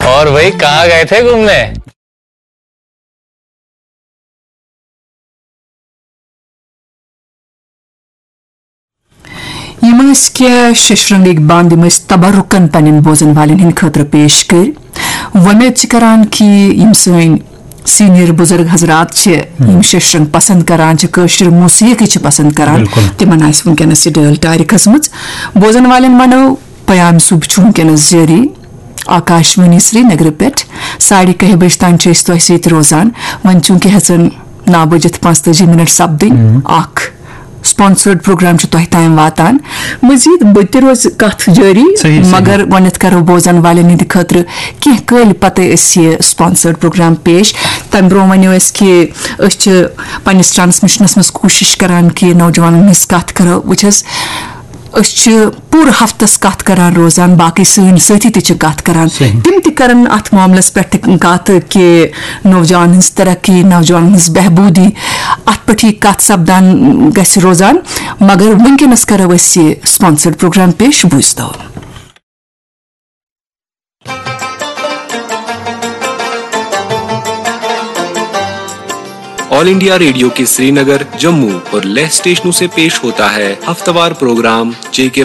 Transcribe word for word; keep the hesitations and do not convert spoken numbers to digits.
और भाई, कहाँ गए थे घूमने? یِم ٲسۍ کینٛہہ ششرنگٕکۍ بند، یِم أسۍ تبرکن پننٮ۪ن بوزن والٮ۪ن ہٕنٛدِ خٲطرٕ پیش کٔرۍ۔ وۄمید چھِ کران کہِ یِم سٲنۍ سینئر بُزرگ حضرات چھِ، یِم ششرنگ پسند کران چھِ، کٲشِر موسیقی چھِ پسند کران، بِلکُل۔ تِمن آسہِ وٕنکیٚنس یہِ ڈٲلۍ ٹارِ کھٔژمٕژ۔ بوزن والٮ۪ن ونو، پیام صُبح چھُ وٕنکیٚنس جٲری آکاش وانی سرینگرٕ پٮ۪ٹھ۔ ساڑِ کاہہِ بجہِ تام چھِ أسۍ تۄہہِ سۭتۍ روزان۔ وۄنۍ چوٗنٛکہِ ہٮ۪ژن نَو بجِتھ پانٛژتٲجی منٹ سپدٕنۍ، اکھ سپانسرڈ پروگرام چھُ تۄہہِ تام واتان۔ مزید بہٕ تہِ روزِ کتھ جٲری، صحیح، صحیح۔ مگر گۄڈنیتھ کرو بوزن والٮ۪ن ہٕنٛدِ خٲطرٕ کینٛہہ کٲلۍ پتہٕ أسۍ یہِ سپانسرڈ پروگرام پیش۔ تمہِ برونٛہہ ؤنِو أسۍ کہِ أسۍ چھِ پننِس ٹرانسمیشنس منٛز کوٗشش کران کہِ نوجوانن ہٕنٛز کتھ کرو۔ وٕچھ حظ، أسۍ چھِ پوٗرٕ ہفتس کتھ کران روزان، باقٕے سٲنۍ سٲتھی تہِ چھِ کتھ کران۔ صحیح۔ تِم تہِ کرن اتھ معاملس پٮ۪ٹھ تہِ کتھ کہِ نوجوانن ہٕنٛز ترقی، نوجوانن ہٕنٛز بہبودی، اتھ پٮ۪ٹھ یہِ کتھ سپدان گژھِ روزان۔ مگر وٕنکیٚنس کرو أسۍ یہِ سپانسرڈ پروگرام پیش، بوٗزتو۔ ऑल इंडिया रेडियो के श्रीनगर, जम्मू और लेह स्टेशनों से पेश होता है हफ्तावार प्रोग्राम जेके